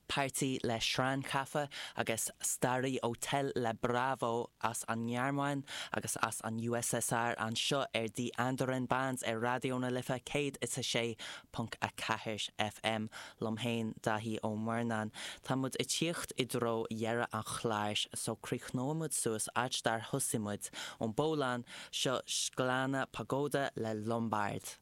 Party le Schrankaffe agus Stary Otel le Bravo as an nGearmáin agus as an USSR anseo ar Die Anderen Bands ar Raidió na Life 106.4 FM. Liom féin, Daithí Ó Murnáin. Tá muid ag tíocht i dtreo dheireadh an chláir so críochnóidh muid suas áit dár thosaigh muid, ón bPólainn, seo Szklana Pogoda le Lombard.